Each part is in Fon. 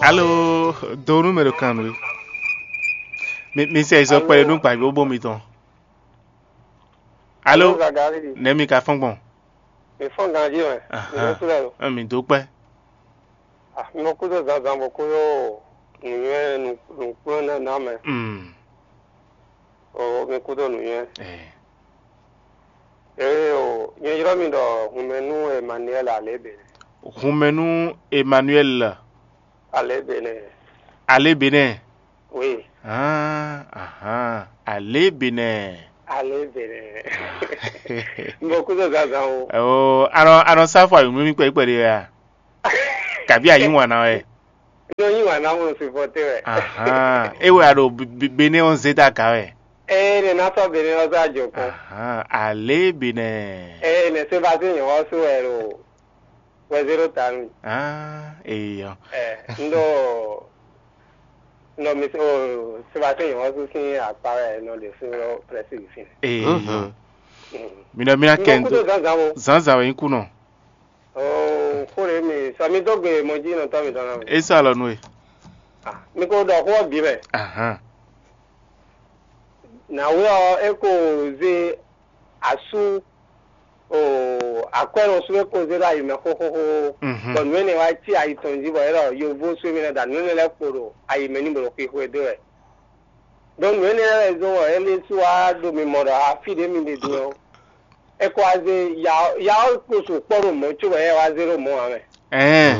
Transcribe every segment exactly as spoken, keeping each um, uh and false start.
Alo, do nú mɛ ɖo kan nú we. Mi mi sɛ izɔ kpɛɖé nú gbǎgbóbó mitɔn. Alo, Gagari. Nɛ̌ mi ka fɔ́n gbɔn? Mi fɔ́n ganjí mɛ. Mi Ahan. Ɖésú lɛ lo. Ɛ, mi dó kpɛ́. Ah, mi mɔ kúdó zǎnzǎn bɔ kúdó nǔnywɛ́ nǔkplɔ́n nɛ́ ná mɛ. Mm. O mi kúdó nǔnywɛ́. Ɛ. Ee o, nyɛ ylɔ́ mi ɖɔ hunmɛ nú Emmanuel Alébě. Hunmɛ nú Emmanuel. Alébě nɛ. Alébě nɛ. Oui. Ah, ahan. Alébě nɛ. Alébě nɛ. N bɔ kúzɔ zazan o. Ɔ, anɔ anɔ sáfù ayǐmúmí kpɛɖé kpɛɖé wɛ a? Kabi ayǐ wǎn ná wɛ. Nɔ yí wǎn ná mɔ supporter wɛ. Ahan. E wɛ a ɖo Benin ɔ́ zé ta ka wɛ. Ee, ne ná sɔ Benin ɔ́ sɔ ajɔ kpɔn. Ahan. Alébě nɛ. Ee, ne Sébastien nyɔ̌ ɔ́ sú wɛ ɖo wɛ zéro ta nú. Ah, eyɔ. Ɛ, n ɖo n ɖo mi o Sébastien nyɔ̌ ɔ́ sú sín akpa wɛ nɔ ɖe sú lɔ prɛsi sin. Eyɔ. Mm. Mi nɔ mi ná N kɛ bɔ n kúdó dó. Zánzán o. Zǎnzǎn wɛ nyí kú nɔ. Oo, xó ɖě mi sɔ mi dó gbe mɔ jí nɔ tɔ́ mi tɔn ná mi. É sɔ́ alɔ nú we. Ah, mi ko ɖɔ xó ɔ́ bǐ mɛ. Ahan. Nǎwe ɔ́, é ko zé asú o akwɛ́nɔ sú é ko zé ɖo ayi mɛ xóxóxó. Mhm. Bɔ nǔ énɛ́ wá cí ayi tɔn jí bɔ é ɖɔ yovó sú émí lɛ́ɛ da nǔ énɛ́ lɛ́ɛ kpo ɖo ayi mɛ ní bo ɖo xwixwe dó wɛ. Ɖó nǔ énɛ́ lɛ́ɛ wɛ zɔ́n bɔ é lɛ́ sú wá ɖo mi mɔ ɖɔ afí ɖě mi ɖe din ɔ́, é ko wá zé ya ɔ́, ya ɔ́ ko sukpɔ́ ɖo mɔ̌ cóbɔ é wá zé ɖo mɔ̌ ǎ mɛ. Ɛɛ.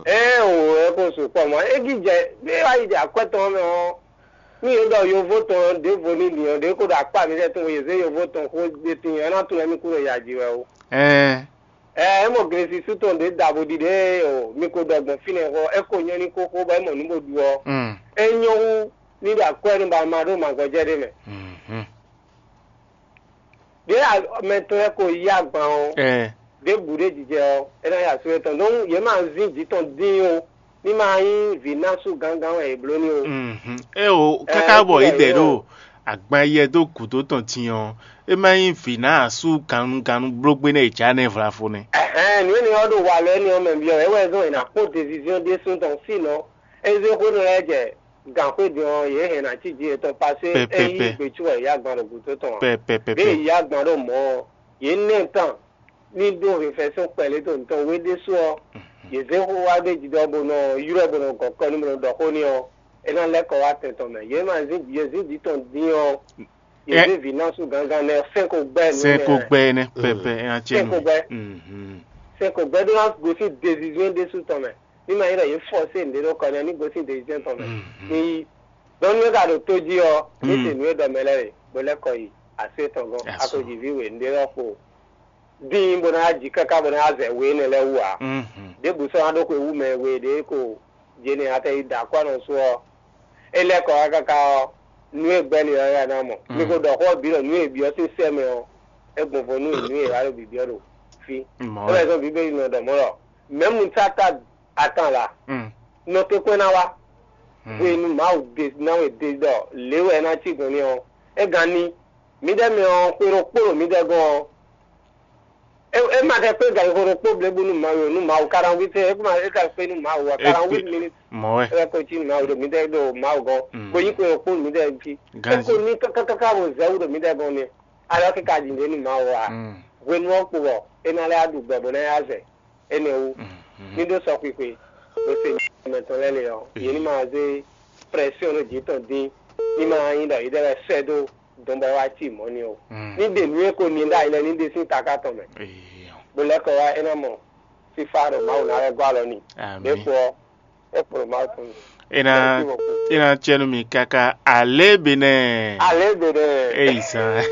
Ɛɛ o, é ko sukpɔ́ mɔ̌. É jijɛ, é wá yi jɛ akwɛ́ tɔn mɛ ɔ́, nú yě ɖɔ yovó tɔn ɖěvo ní din ɔ́, ɖě ko ɖo akpá mǐtɛn tɔn, yě zé yovó tɔn xó ɖé tíin ɔ́, é ná tunwun émí kú ɖo ya ji wɛ o. Ɛɛ. Ɛɛ, é mɔ glesi sú tɔn ɖě ɖaxó ɖiɖe o, mi ko ɖɔ gbɔn fínɛ́ xɔ, é ko nyɔ́ ní xóxó bɔ é mɔ nǔ bó ɖu ɔ́, Mm. É nyɔ́ hú ní ɖo akwɛ́ nú ba ma ɖó mǎgɔ́jɛ́ ɖé mɛ. Mhm. Ɖě mɛ tɔn lɛ́ɛ ko yí agban ɔ́, Ɛɛ. Ɖěbǔ ɖé jijɛ ɔ́, é ná yi asú étɔn. Donc yě ma zín jǐ tɔn dín ó, ní ma nyí vǐnásu gángan wɛ è bló ní ó. Mhm. É o, káká bɔ é dɛ ɖo agban yɛ dó gǔdo tɔn din ɔ́, é má nyí vǐnásu gannugannú blógbé nɛ́ è já nɛ́ vlafo nɛ́. Ɛhɛn, nǔ énɛ́ ɔ́ ɖo walɔ énɛ́ ɔ́ mɛ byɔ́ wɛ, é wɛ zɔ́n è nǎ kpɔ́n desizíɔ́n ɖésú tɔn sínɔ é zé xwé nɔ lɛ́ɛ jɛ gǎnxwé din ɔ́, yě hɛn ná cí jǐ yětɔn pasé é yí gbecú wɛ yě agban ɖo gǔdo tɔn ǎ. Pɛpɛpɛpɛ. Ɖěe yě agban ɖo mɔ̌ ɔ́, yě nɛ́ tán ní ɖó hwefɛ́sɔ́n kpɛlɛ́ dó nǔtɔn wé ɖésú ɔ́, yě zé xó wá ɖ'é jí ɖɔ bó nɔ ylɔ́ ɛ bó nɔ gɔn kɔ n'i bó nɔ ɖɔ xó n'i ɔ́, é ná lɛ́ kɔ wá tɛn tɔn mɛ. Yě ma zín yě zín jǐ tɔn dín ɔ́, yě zé vǐ ná sú gángan nɛ́ sɛ́n ko gbɛ́ nú Sɛ́n ko gbɛ́ énɛ́ pɛpɛ é ná cɛ sɛ́n nú ko gbɛ́. Mhm. Sɛ́n ko gbɛ́ ɖó ná gosín dezizwín ɖésú tɔn mɛ. Ní ma nyí ɖɔ yě fɔ́sé nǔɖé ɖó kɔ nɛ́ ní gosín dezizwín tɔn mɛ. Mhm. Ní yí. Dɔn nú é ka ɖo tó jí ɔ́, ní Mm. se nǔ e ɖɔ mɛ lɛ́ɛ ɖe, bó lɛ́ kɔ yi asú étɔn gɔ́n, Asú. Akojiví we nǔɖé lɔ kpo dín bó ná ji káká bó ná zɛ we énɛ́ lɛ́ɛ wú ǎ. Mhm. Ɖěbǔ sɔ́ ná ɖó xwe wú mɛ we ɖě ko jě nɛ atɛ yi da akɔ́ nɔ sú ɔ́, é lɛ́ kɔ wá káká ɔ́, nú e gbɛ́ lě ɔ́ wɛ a ná mɔ. Mm. Mi ko ɖɔ xó ɔ́ bǐ ɖɔ nǔ e è byɔ́ sín sɛ́ mɛ ɔ́, é gbɔn vo nú e nǔ e è wá ɖo bǐbyɔ́ ɖo fí. Mɔ̌ É wɛ. Wɛ zɔ́n Bíbélì nɔ ɖɔ mɔ̌ ɖɔ mɛ̌mu táta atan la Mm. nɔ tɛ́nkpɛ́n ná wá. Mm. Hwenu Mawu ɖe ná wɛ ɖe ɖɔ lě wɛ é ná cí gɔ̌n n'i ɔ́, é gán ní. Mǐdɛɛ mɛ ɔ́, xwe ɖokpó ɖo mǐdɛɛ gɔ́n ɔ́, é, é ma ka kpé gan xwe ɖokpó blěbú nú Mawu ó, nú Mawu quarante-huit heures, é ma é ka kpé nú Mawu ǎ, É kpé quarante-huit minutes mɔ̌ wɛ. É wɛ ko cí nú Mawu ɖo mǐdɛɛ ɖo Mawu gɔ́n, Mm. bó nyí xwe ɖokpó nú mǐdɛɛ jí. É Ganjí. Ko ní kákákáká bó zɛ wú ɖo mǐdɛɛ gɔ́n n'i, alɔ kíka jǐ ɖě nú Mawu ǎ. Mm. Hwenu ɔ́ kpo bɔ é ná lɛ́ wá ɖu gbɛ bó ná yá zɛ énɛ́ wú. Mhm. Ní ɖó sɔxwixwe, bó se mɛ tɔn lɛ́ɛ lě ɔ́, yě ní ma zé pression ɖo jǐ tɔn dín, ní ma nyí ɖɔ yěɖée lɛ́ɛ sɛ́ dó dɔn bɔ é wá cí mɔ̌ n'i ó. Mm. Ní ɖe nǔ e ko ní ɖ'ayǐ lɛ́ɛ ní ɖe sín taká tɔn mɛ, Eyɔ. Bó lɛ́ kɔ wá é ná mɔ fífá ɖɔ Mawu ná lɛ́ gɔ́ alɔ n'i. Amǐ. Ɖěkpo ɔ́, é kplɔ́ Mawu tɔn. É ná Merci beaucoup. É ná cɛ nú mi káká alě benɛ. Alě benɛ. Eyi zan.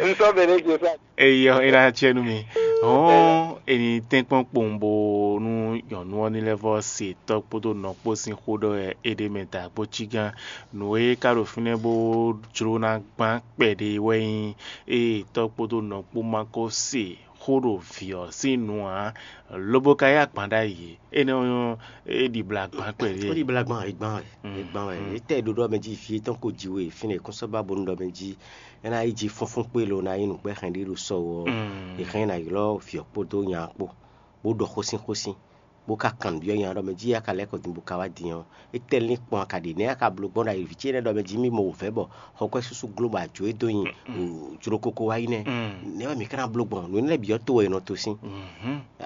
N sɔ́ benɛ jɛ fún. Eyɔ é ná cɛ nú mi. Hɔn eni tɛ́nkpɔ́n kpowun bo nú nyɔ̌nu ɔ́ ní lɛ́ vɔ se tɔ́ kpódó nɔ kpó sín xó ɖɔ wɛ é ɖe mɛ da kpó cí gán. Nǔ e ka ɖo fínɛ́ bó jló ná gbán kpɛɖé wɛ nyí ée tɔ́ kpódó nɔ kpó ma ko se xó ɖo vǐ ɔ́ sín nu ǎ, lobo ka yí agban ɖ'ayǐ. Énɛ́ ɔ́ nyɔ́ é ɖi bla gbán kpɛɖé. Ó ɖi bla gbán, é gbán wɛ, é gbán wɛ. Mm. É tɛ ɖoɖo ɔ́ mɛ jí vǐ étɔn ko ji we, fínɛ́ kún sɔ́ ba bónú ɖɔ mɛ jí é ná yi jí fúnfún kpé lo ná nyí nǔgbɛ́ hɛn ɖé ɖo sɔ wɔ, Mm. é hɛn ná ylɔ́ vǐ ɔ́ kpódó nya ɔ́ kpó, bó ɖɔ xósín xósín. bó ka kanbyɔ́ nya ɖɔ mɛ jí a ka lɛ́ kɔ din bó ka wá din ɔ́, étɛ́ lín kpɔn a ka ɖe nɛ́ a ka bló gbɔn ɖo ayǐvǐ ce énɛ́ ɖɔ mɛ jí mì mɔ wǔvɛ́ bɔ xɔ kɔ́ súsú gló bɔ a jǒ e dó nyi jlokoko wá yi nɛ́. Nɛ́ wɛ mǐ ka ná bló gbɔn nǔ énɛ́ lɛ́ɛ bǐ ɔ́ to wɛ è nɔ to sín.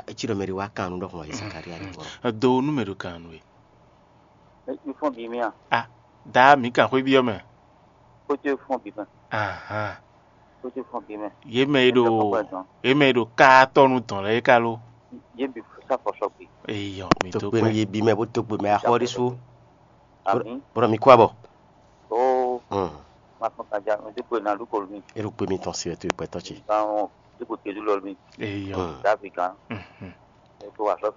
É cí ɖɔ mɛ ɖé wá kan nǔ ɖɔ hɔn Zakalía ɖo gbɔn. Do nú mɛ ɖo kan nú we. Mi fɔ́n bǐ mì a? Ah, daa mǐ kan xwé byɔ́ mɛ. Kótó fɔ́n bǐ mɛ. Ahan. Kótó fɔ́n bǐ mɛ. Yě mɛ e ɖo yě mɛ e ɖo káatɔ́nu dɔn lɛ́ɛ é ka lo. Yé bǐ sá fɔ sɔgbe. Eyɔ, mi tó Tokpe nú gbɛ. Yé bí mɛ bó tokpe mɛ axɔ ɖésú. Àmì. Bɔlɔ mi kú abɔ. Ó Hmm. Ma fɔn kan ja mi dúpọ̀ iná lúkọ̀ mi. Eɖo kpe mitɔn si wɛ to ìpẹ́tɔ ce. Báwọn dúpọ̀ tẹ̀lú lọ mi. Eyɔ. Hmm. Dáfì kan. Mhm. Ètò àṣọ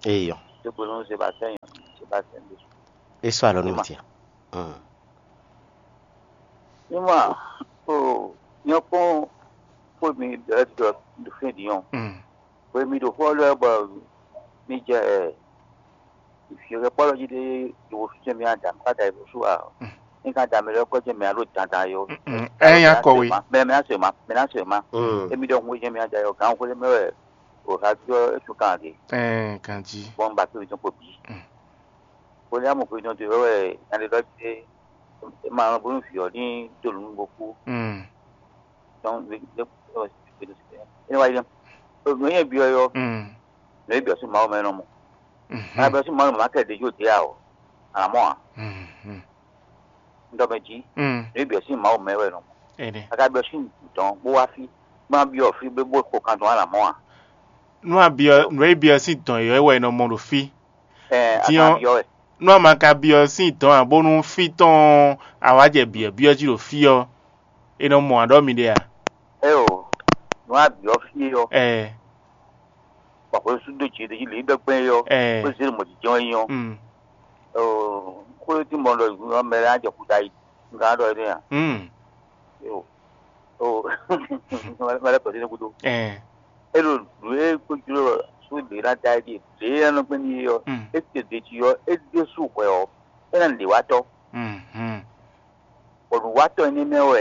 Eyɔ. dúpọ̀ ló ń ṣe bá sẹ́yìn. Ṣe bá sẹ́yìn. E sɔ alɔ nú mi tia. Hmm. Nímọ̀ ó yẹn kún fún mi dɔ̀rẹ́dọ̀ fún ìdíyàn. Mm. Pé mi ɖo xó lɛ́ɛ bɔ mi jɛ ìfìyɛ́kpɔ́lɔ jí ɖé ɖo fífɛ́ mi ada ká da ìbò sú a? Ní ká da mi lɛ́ kɔ́ jɛ mɛ alo dandan yó. Mm, ɛ nya kɔwe. Mɛ mɛ asɔ ma, mɛ asɔ ma. Hmm. Emi ɖɔ hun jɛ mi ada yó gán xó lé mɛ wɛ o ha jɔ esu kan de. Ɛ kan jí. Bɔn ba kiri tɔn kpo bi. Mm. Ko ní amɔ kiri tɔn de wɛ wɛ yan de lɔ de ma lɔ bonu fi ɔ ní donu bo kú. Mm. Tɔn de de de de ne wa yɛ. O nɔ yɛ bi ɔ yɔ. Mm. Nɔ yɛ bi ɔ su ma o mɛ nɔ mɔ. Mhm. Ma bi ɔ su ma o mɛ ma kɛ de jo de a o. Àmọ́ a Mhm. ŋdɔ mɛ jí. Mm. Nɔ yɛ bi ɔ su ma o mɛ wɛ nɔ mɔ. Ene. Kaka bi ɔ su dɔn bó wá fi. Ma bi ɔ fi bó bó ko kan tɔn àmọ́ a. Nú a biɔ nú e biɔ sín dɔn yɔ wɛ nɔ mɔ ɖo fí. Ɛ Din a ɔ- ka bi ɔ wɛ. Nú a ma ka biɔ sín dɔn ǎ bónú fí tɔn awǎjɛ biɔ biɔ jí ɖo fí ɔ́, è nɔ mɔ aɖɔ́ mi ɖe a? Ɛ o. Nɔ a bi ɔ fi ɔ. Ɛ Bɔn xwe su do dzi ɖe dzi lě ɖɔ gbɛn yɔ. Ɛ. Kó zé mɔ jijɔ yi yɔ. Mm. Ɔ kó tí mɔ ɖɔ mɛ lɛ ajɔ kuta yi. Nga ɖɔ yɛ ya. Mm. Yo. O mɛ lɛ kɔsi ne kudo. Ɛ. E ɖo nǔ e kó jlo su ɖe na da yi ɖe e nɔ gbɛn ni yɔ. Mm. E te ɖe dzi yɔ e ɖe su hwɛ ɔ. E na ɖe wa tɔ. Mhm. Bɔn nǔwatɔ́ énɛ́ mɛ wɛ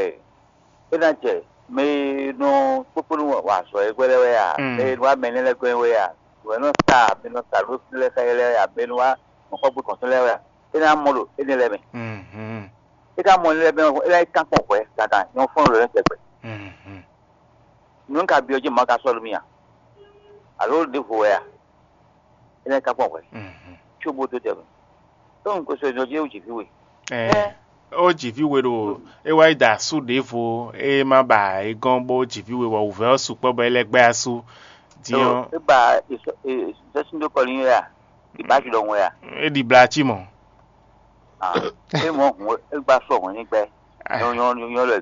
é ná jɛ mɛ e nɔ kpókpónú wa azɔ̌ e hwɛ lɛ́ɛ wɛ a, Mm. mɛ e nɔ wá mɛ énɛ́ lɛ́ɛ gɔ́n wɛ a, nǔ e nɔ sa mɛ e nɔ sa nǔ lɛ́ɛ xá yɛ lɛ́ɛ wɛ a, mɛ e nɔ wá nǔxɔgbé kɔn tɔn lɛ́ɛ wɛ a, é ná mɔ ɖo énɛ́ lɛ́ɛ mɛ. Mhm. É ká mɔ énɛ́ lɛ́ɛ mɛ ɔ́, é ná yi kán kpɔn hwɛ̌ dandan nyɔ̌ fɔ́n lǒ lɛ́ɛ tɛgbɛ. Mhm. Nǔ ka byɔ́ jɛ mɔ̌ ka sɔ́ nú mì a? Alo ɖěvo wɛ a? É ná yi kán kpɔn hwɛ̌. Mhm. Có bó dó tɛmɛ. Tó un ko sɔ nyɔ jí é wú jǐ fí we. Ɛ. Ó jǐví we ɖo é wá yi da asú ɖěvo é má ba é gɔ́n bó jǐví we wɔ wǔvɛ́ ɔ́ sukpɔ́ bɔ é lɛ́ gbɛ́ asú. Din ɔ́, É ba ìsɔsíndó kɔlí yín wɛ a? Ìbá ti ɖɔhun wɛ a? É ɖi bla cí mɔ̌. É mɔ hùn é gba sɔ hùn ní gbɛ. Nyɔ nyɔ nyɔ lɔ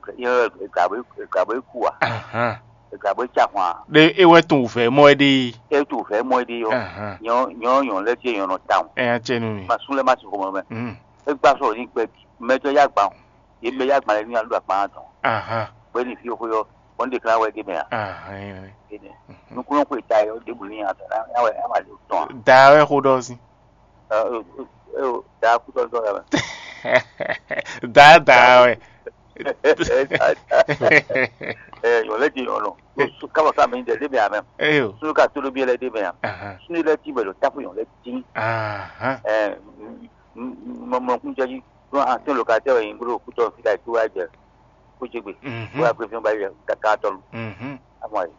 ìgbà bó ìgbà bó kú a? Ahán. Ìgbà bó tsa hùn a? Ɖé é wɛ tún wǔvɛ́ mɔ é ɖe. É tu fɛ mɔ é ɖe yɔ. Ahán. Nyɔ nyɔ nyɔ lɛ tiɛ nyɔ nɔ ta hùn. Ɛ nya tsɛ nú mi. Ma sún lɛ ma ti xɔmɔ mɛ. Mm. É gba sɔ ní gbɛ mɛtɔ yá gbà hùn. Yě mɛ yá gbà lɛ ní alú àgbà tɔn. Ahán. Bó ní fi xó yɔ bó ní dekla wɛ dé mɛ a? Ahán. Nukúnú xwe ta yɔ débù ní atɔ yá wɛ yá wà lè tɔn. Da wɛ xó ɖɔ sí. Da kútɔ dɔ yà mɛ. Da da wɛ. Ɛ yɔ lɛ di yɔ nɔ. Kaba ka mi dɛ dé mɛ a mɛ. Eyo. Sunu ka tó ló bí lɛ dé mɛ a. Ahán. Sunu lɛ ti bɛ lɔ tapu yɔ lɛ ti. Ahán. Ɛ mɔmɔkun jɛ ji. Don an tɛ lo ka tɛ wɛ yin bolo kutɔ fi ka yi tó wa jɛ. Kó jɛ gbe. Kó wa gbé fi ba yɛ kaka tɔ lu. Mhm. Amɔ yi.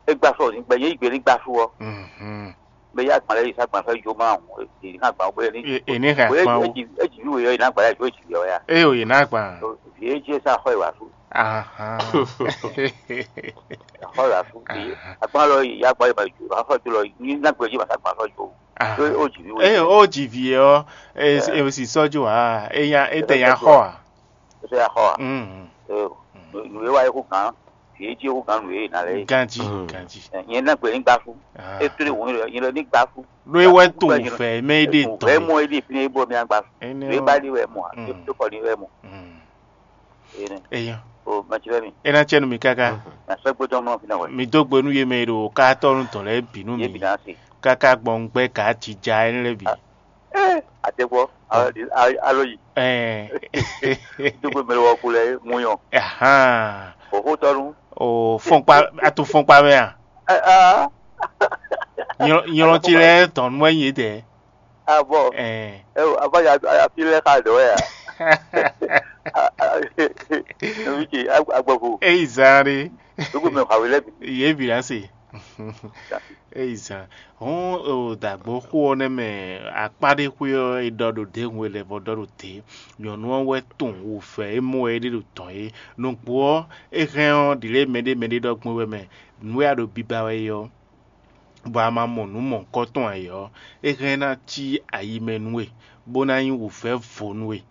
E gba sɔ ni gbɛ ye yi gbe ni gba su wɔ. Mhm. Bɛ ya gbalɛ yi sa gbalɛ fɛ jo ma o. Yi ha gba o bɛ ni. E e ní hàn pa o. E ji e ji wi yɔ yi na gbalɛ jo e ji yɔ ya. E o yìí náà gbà. Fi e jẹ sa xɔ yi wa su. Ahán. Xɔ yi wa su. Akpa lɔ yi ya gbalɛ ma jo. Xɔ jo lɔ yi na gbɛ ji ma sa gbalɛ fɛ jo. Ahán. O ji wi. E o jì vi ɔ e e sì sọ́jú wa e ya e tẹ̀ ya xɔ a. O se ya xɔ a. Mm. Ee, nùwé wa yẹ kó gàn, fìyé tí yẹ kó gàn nùwé yìí nà lẹ yìí. Ganji Mm. ganji. Yẹn náà gbé ní gbá fún. Ah. É tó lè wọ́n yẹn lọ ní gbá fún. Ló é wẹ́ tó fẹ́ mẹ́ é dè Kò tán. Fẹ́ mọ́ é dé fi ní bó mi àgbà. Ẹni Nùwé o- bá dé wẹ́ mọ́, Mm. tó kọ́ ní wẹ́ mọ́. Mm. Ee, Èèyàn o mọ̀tí fẹ́ mi. ena tsɛ nu mi kaka Nà sọ gbé tán mọ́ fi náà wẹ̀. mi dó gbe nú yé mɛ ɖo kátɔnu tɔn lɛ bínú Yé bì mi náà se. kaka gbɔn gbɛ ká ti dza ɛnɛ lɛ bi. Alo yi. Ɛɛ. Dógbé mɛ wɔ kulɛ muyɔ. Ahan. Òhó tɔnu. O fɔnkpa atu fɔnkpa mɛ a. Aa. Nylɔ- nylɔ ce lɛ́ɛ tɔn nú wɛ nyi yědɛɛ. Abɔ. Ɛɛ. Ɛ o, afa ya afi lɛ xa dɔ ya. Ebi ce agbɔfo. Eyi zan ɖe. Gbogbo mɛ xawe lɛ bi. Yě bi la se. Eyi zan. Hɔn o dàgbò xó ɔ́ nɛ mɛ akpá ɖé xwé ɔ́ e ɖɔ ɖo ɖěhun e lɛ vɔ ɖɔ ɖo te. Nyɔ̌nu ɔ́ wɛ tɔn wǔfɛ e mɔ wɛ é ɖe ɖo tɔn é. Nǔgbó ɔ́, é hɛn ɔ́ ɖǐlé mɛɖé mɛɖé ɖɔ gbɔn wɛ mɛ. Nǔ e a ɖo biba wɛ é ɔ́, bɔ a ma mɔ nǔ mɔ̌hunkɔtɔn ǎ é ɔ́, é hɛn ná cí ayi mɛ nú we, bó ná nyí wǔvɛ́ vo nú we,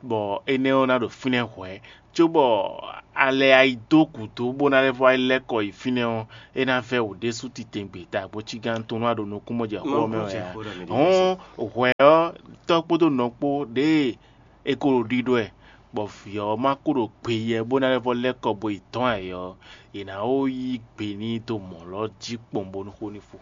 bɔ énɛ́ ɔ́ ná ɖo fínɛ́ hwɛ̌, cóbɔ a lɛ a yi dó gǔdo bó ná lɛ́ vɔ yi lɛ́ kɔ yi fínɛ́ ɔ́, é ná vɛ́ wǔ ɖésú titewungbe ta bó cí gán tɔn nú a ɖo nukúnmɔjɛxó ɔ́ mɛ wɛ ǎ. Hɔn hwɛ ɔ́, tɔ́ kpódó nɔ kpó ɖěe è ko ɖo ɖiɖɔ ɛ, bɔ vǐ ɔ́ ma kú ɖo gbe yɛ bó ná lɛ́ vɔ lɛ́ kɔ bo yi dɔ̌n ǎ é ɔ́, è nǎ ó yí gbe n'i dó mɔ̌ lɔ́ jí kpɔ́n bónú xó ní fo.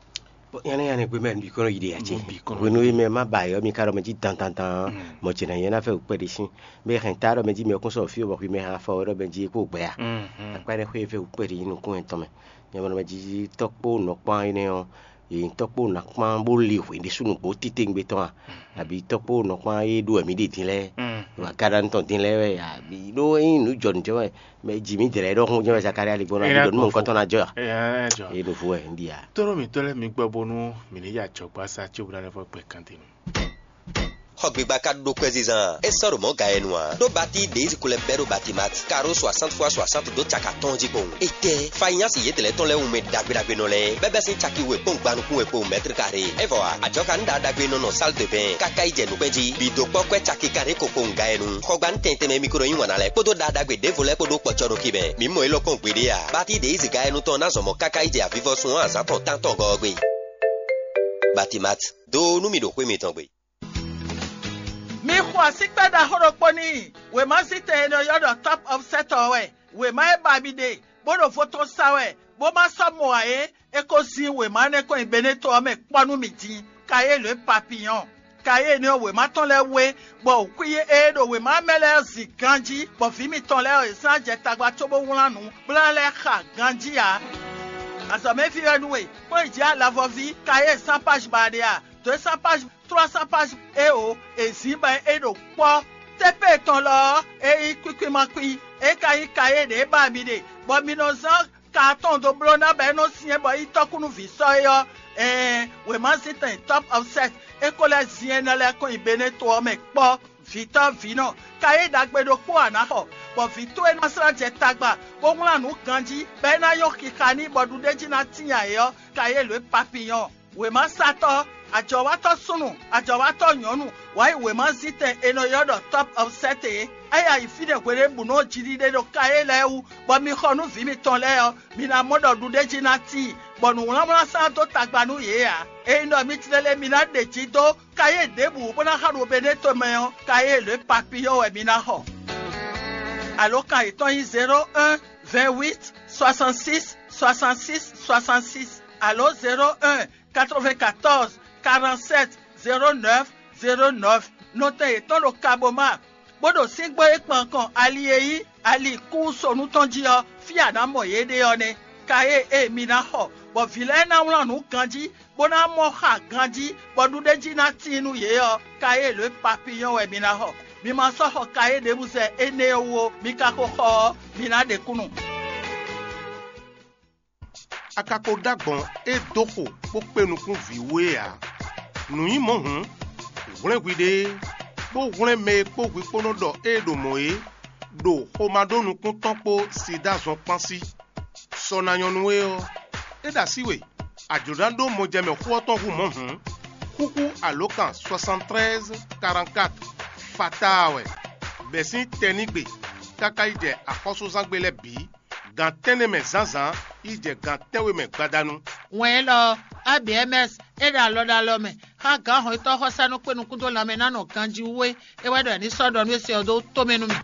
Yɛnɛ yɛnɛ gbe mɛ bǐ kɔnɔ yi ɖe ǎ ce. Hwenu e mɛ ma ba yɔ mi ka ɖɔ mɛ jí dandandan, mɔ ce nǎ nyɛ ná fɛ wǔkpɛ ɖé sín. Mɛ hɛn ta ɖɔ mɛ jí mɛ kún sɔ fí bɔ hwi mɛ hɛn afɔ ɖɔ mɛ jí kó gbɛ a. Akpa ɖe xwé fɛ wǔkpɛ ɖé nukún ɛtɔn mɛ. Nyɛ mɛ jí tɔkpó nɔkpán énɛ́ ɔ́, yě nyí tɔkpó nɔkpán bó li hwě ɖésú nǔgbó titewungbe tɔn a? Abǐ tɔkpó nɔkpán e ɖó wɛ mǐ ɖe din lɛ́ɛ, ɖo agadanu tɔn din lɛ́ɛ wɛ, abǐ ɖó ényí nǔ jɔ nǔ jɛ wɛ, mɛ jí mǐ dlɛ̌ ɖɔhun jɛ́n wɛ Zakalía ligbɔn ná ɖiɖɔ nú mɔ̌hunkɔtɔn ná jɔ a? É ɖo vo wɛ un ɖi a? Tónú mǐtɔn lɛ́ɛ mi gbɔ bónú mǐ ní yi ajɔ̌gbásá cóbó ná lɛ́ vɔ gbɛ kantɛn nu. Xɔ gbigba ka ɖó kwɛzizan, é sɔ́ ɖo mɔ̌ ga e nu ǎ. Ɖó batí ɖě yi ko lɛ́ bɛ́ ɖó Batimat, karo soixante fois soixante dó caka tɔn jí kpowun. Étɛ́, fanyási yědɛlɛ́ tɔn lɛ́ɛ wú mɛ ɖagbe ɖagbe nɔ lɛ́ɛ, bɛ́ bɛ́ sín caki we kpɔ́n gban nukún we kpowun mɛ̌tr karé. É vɔ ǎ, ajɔ̌ ka ní ɖaɖagbe nɔ nɔ sál de bɛn káká yi jɛ nǔkpɛ́n jí. Bǐ dó kpɔ́ kwɛ́ caki kanɖé ko kpowun ga e nu. Xɔgbanu tɛn tɛnmɛ mi ko nɔ yí wǎn ná lɛ́ɛ kpódó ɖaɖagbe ɖěvo lɛ́ɛ kpó ɖó kpɔcɔ ɖo kí mɛ. Mǐ mɔ élɔ́ kpɔ́n gbeɖé ǎ. Batí ɖě yi zi ga e nu tɔn ná zɔn mɔ̌ káká yi jɛ avivɔsun ɔ́ azǎn tɔn tántɔn gɔ́ ɔ́ gbe. Batimat, dó nú mì ɖo xwé mitɔn gbe. Mi xo asíkpɛ́ ɖaxó ɖokpó n'i. Wěma zítɛn e nɔ ylɔ́ ɖɔ Top of Set ɔ́ wɛ. Wěma e ba mi ɖe, bó ɖo vo tɔn sa wɛ, bó ma sɔ́ mɔ ǎ é, é ko zín wěma énɛ́ kɔn nyi Beneto ɔ́ mɛ kpɔ́ nú mì din. Kayélu e papiyɔ́n. Kayélu ɔ́, wěma tɔn lɛ́ɛ wé, bɔ wǔkwín e ɖo wěma mɛ lɛ́ɛ zin ganjí, bɔ vǐ mitɔn lɛ́ɛ ɔ́, yě sɔ́ ná jɛ tagba cóbó wlán nǔ, bó ná lɛ́ xa ganjí ǎ. Azɔ̌mɛví wɛ nú we, kpɔ́n yi jǐ alavɔví, kayé sán páj ba ɖe a? Dǒ e sán páj trois cents pages eo è zǐn bɔ é ɖo kpɔ́. Tépée tɔn lɔ ɔ́, é nyí kwíkwímákwí; é ka nyí kayé ɖě ba mi ɖe, bɔ mi nɔ zán ka atɔn dó bló ná bɔ é nɔ syɛ́n bɔ é nyí tɔ́kúnúví sɔ́ é ɔ́, ɛɛn, wěmazíntɛn Top of Set é ko lɛ́ zin énɛ́ lɛ́ɛ kɔn nyi Beneto ɔ́ mɛ kpɔ́. Vǐtɔ́ vǐnɔ, kayé ɖagbe ɖokpó a nǎ xɔ, bɔ vǐ towe ná slá jɛ tagba, bó wlán nǔ ganjí, bɔ é ná nyɔ́ xixa n'i bɔ ɖuɖéjí ná tíin ǎ é ɔ́, kayé lǒ e papiyɔ́n. Wěmasatɔ́, ajɔ̌watɔ́ súnnu, ajɔ̌watɔ́ nyɔ̌nu, wǎ yi wěmazíntɛn è nɔ ylɔ́ ɖɔ Top of Set é. É yi ayǐ fínɛ́ hweɖěbǔnu ɔ́ jiɖiɖe ɖo kayé lɛ́ɛ wú, bɔ mi xɔ nú vǐ mitɔn lɛ́ɛ ɔ́, mi ná mɔ ɖɔ ɖuɖéjí ná tíin, bɔ nǔwlánwlán sán dó tagba nú yě ǎ. Ényí ɖɔ mi tlɛ lɛ́ɛ mi ná ɖe jǐ dó kayé ɖěbǔ bó ná xa ɖo Beneto mɛ ɔ́, kayé lě papiyɔ́ wɛ mi ná xɔ. Alǒkan yětɔn nyí zéro un, vingt huit, soixante six, soixante six, soixante six, alo zéro un, quatre-vingt-quatorze, quarante-sept, zéro neuf, zéro neuf. Nɔtɛn yětɔn ɖo Kaboma, bó ɖo síngbó e kpan kɔn ali e nyí ali kúsonu tɔn jí ɔ́, fí a nǎ mɔ yě ɖe ɔ́ nɛ́. Kayé e mi ná xɔ, bɔ vǐ lɛ́ɛ ná wlán nǔ ganjí, bó ná mɔ xa ganjí, bɔ ɖuɖéjí ná tíin nú yě ɔ́, kayé lǒ e papiyɔ́n wɛ mi ná xɔ. Mi ma sɔ́ xɔ kayé ɖěbǔ zɛ énɛ́ ɔ́ wú ó; mi ka ko xɔ ɔ́, mi ná ɖe kúnnu. A ka ko ɖó agbɔ̌n e dó xo bó kpé nukún vǐ wú é ǎ. Nǔ nyí mɔ̌ hǔn, hwlɛ́n hwiɖée, bó hwlɛ́n mɛ e kpó hwi kpó nɔ ɖɔ ée ɖo mɔ̌ é, ɖo xomado nukún tɔn kpó Sidáa zɔn kpán sí. Sɔ ná nyɔ́ nú we ɔ́, é ɖo así we, a jlǒ ná ɖó mɔjɛmɛ xó ɔ́ tɔn hú mɔ̌ hǔn, xúxú alǒkan soixante-treize quarante-quatre fataa wɛ, bɛ̌ sín tɛnígbe káká yi jɛ axɔ́súzángbe lɛ́ɛ bǐ, gan tɛ́nnɛ mɛ zǎnzǎn yi jɛ gan tɛ́nwe mɛ gbadanu. Wɛn élɔ́ ɔ́, A B M S e ɖo alɔ ɖo alɔ mɛ xá gǎn hɔnnyitɔ́ xɔsánú kpé nukún dó lanmɛ ná nɔ ganjí wú é, é wɛ ɖɔ è ní sɔ́ ɖɔ nú é se ɔ́ dó tomɛ nú mì.